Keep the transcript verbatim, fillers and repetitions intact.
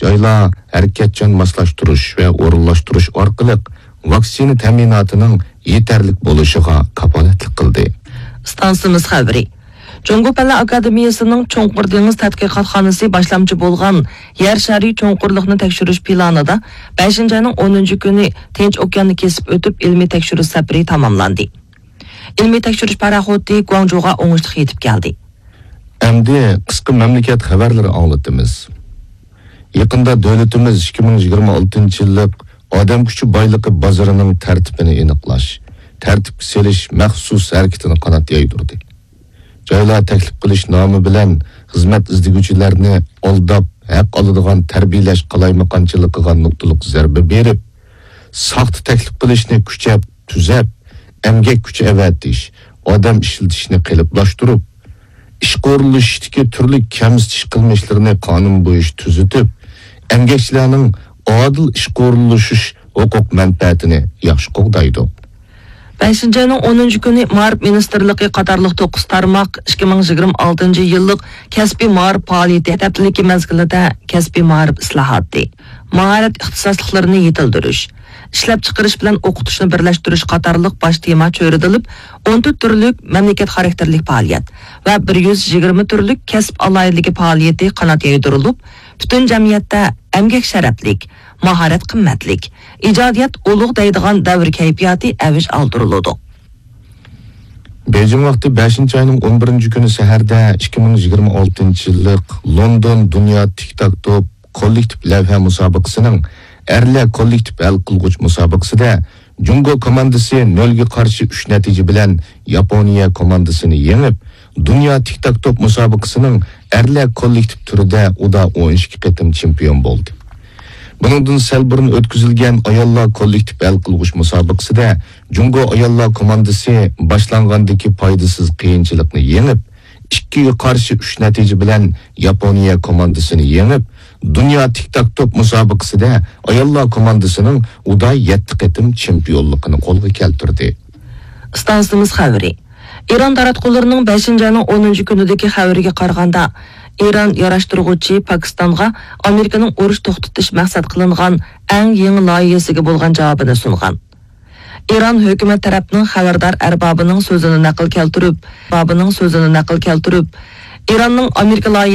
جايلار ھەرىكەتچان ماسلاشتۇرۇش ۋە ئورۇنلاشتۇرۇش ئارقىلىق ۋاكسىنا تەمىناتىنىڭ يېتەرلىك بولۇشىغا كاپالەتلىك قىلدى. ئىستانسىمىز خەۋىرى. جۇڭگو پەنلەر ئاكادېمىيەسىنىڭ چوڭقۇر دېڭىز تەتقىقاتخانىسى باشلامچى بولغان يەر شارى چوڭقۇرلۇقنى تەكشۈرۈش پىلانىدا بەشىنچى ئاينىڭ ئونىنچى كۈنى تىنچ ئوكياننى كېسىپ ئۆتۈپ ئىلمىي تەكشۈرۈش سەپىرى تاماملاندى. ئىلمىي تەكشۈرۈش پاراخوتى گۇاڭجۇغا ئوڭۇشلۇق يېتىپ كەلدى. ئەمدى قىسقا مەملىكەت خەۋەرلىرى ئاڭلىتىمىز. يېقىندا دۆلىتىمىز ئىككى مىڭ يىگىرمە ئالتىنچى يىللىق ئادەم كۈچى بايلىقى بازىرىنىڭ تەرتىپىنى ئېنىقلاش، تەرتىپكە سېلىش مەخسۇس ھەرىكىتىنى قانات يايدۇردى. جايلار تەكلىپ قىلىش نامى بىلەن خىزمەت ئىزدىگۈچىلەرنى ئالداپ، ھەق ئالىدىغان تەربىيەلەش قالايمىقانچىلىقىغا نۇقتىلىق زەربە بېرىپ، ساختا تەكلىپ قىلىشنى كۈچەپ، تۈزەپ، ئەمگەك كۈچى ئەۋەتىش، ئادەم ئىشلىتىشنى قېلىپلاشتۇرۇپ، ئىشقا ئورۇنلىشىشتىكى تۈرلۈك كەمسىتىش قىلمىشلىرىنى قانۇن بويىچە تۈزىتىپ، ئەمگەكچىلەرنىڭ ئادىل ئىشقا ئورۇنلىشىش ھوقۇق مەنپەئەتىنى ياخشى قوغدايدۇ. بەشىنچى ئاينىڭ ئونىنچى كۈنى مائارىپ مىنىستىرلىقى قاتارلىق توققۇز تارماق ئىككى مىڭ يىگىرمە ئالتىنچى يىللىق كەسپىي مائارىپ پائالىيىتى ھەپتىلىكى مەزگىلىدە كەسپىي مائارىپ ئىسلاھاتى، ماھارەت ئىختىساسلىقلىرىنى يېتىلدۈرۈش، ئىشلەپچىقىرىش بىلەن ئوقۇتۇشنى بىرلەشتۈرۈش قاتارلىق باش تېما چۆرىدىلىپ، ئون تۆت تۈرلۈك مەملىكەت خاراكتېرلىك پائالىيەت ۋە بىر يۈز يىگىرمە تۈرلۈك كەسىپ ئالاھىدىلىكى پائالىيىتى قانات يايدۇرۇلۇپ، پۈتۈن جەمئىيەتتە ئەمگەك شەرەپلىك، ماھارەت قىممەتلىك، ئىجادىيەت ئۇلۇغ دەيدىغان دەۋر كەيپىياتى ئەۋج ئالدۇرۇلىدۇ. بېيجىڭ ۋاقتى بەشىنچى ئاينىڭ ئون بىرىنچى كۈنى سەھەردە ئىككى مىڭ يىگىرمە ئالتىنچى يىللىق لوندون دۇنيا تىك تاك توپ كوللېكتىپ لەۋھە مۇسابىقىسىنىڭ ئەرلەر كوللېكتىپ ھەل قىلغۇچ مۇسابىقىسىدە جۇڭگو كوماندىسى نۆلگە قارشى ئۈچ نەتىجە بىلەن ياپونىيە كوماندىسىنى يېڭىپ، دۇنيا تىك تاك توپ مۇسابىقىسىنىڭ ئەرلەر كوللېكتىپ تۈرىدە ئۇدا ئون ئىككى قېتىم چېمپىيون بولدى. بۇنىڭدىن سەل بۇرۇن ئۆتكۈزۈلگەن ئاياللار كوللېكتىپ ھەل قىلغۇچ مۇسابىقىسىدە جۇڭگو ئاياللار كوماندىسى باشلانغاندىكى پايدىسىز قىيىنچىلىقنى يېڭىپ، ئىككىگە قارشى ئۈچ نەتىجە بىلەن ياپونىيە كوماندىسىنى يېڭىپ، دۇنيا تىك تاك توپ مۇسابىقىسىدە ئاياللار كوماندىسىنىڭ ئۇدا يەتتە قېتىم چېمپىيونلۇقىنى قولغا كەلتۈردى. ئىستانسىمىز خەۋىرى. ئىران تاراتقۇلىرىنىڭ بەشىنچى ئاينىڭ ئونىنچى كۈنىدىكى خەۋىرىگە قارىغاندا، ئىران ياراشتۇرغۇچى پاكىستانغا ئامېرىكىنىڭ ئۇرۇش توختىتىش مەقسەت قىلىنغان ئەڭ يېڭى لايىھەسىگە بولغان جاۋابىنى سۇنغان. ئىران ھۆكۈمەت تەرەپنىڭ خەۋەردار ئەربابىنىڭ سۆزىنى نەقىل كەلتۈرۈپ، بابىنىڭ سۆزىنى نەقىل كەلتۈرۈپ، ئىراننىڭ ئامېرىكا لايىھەسى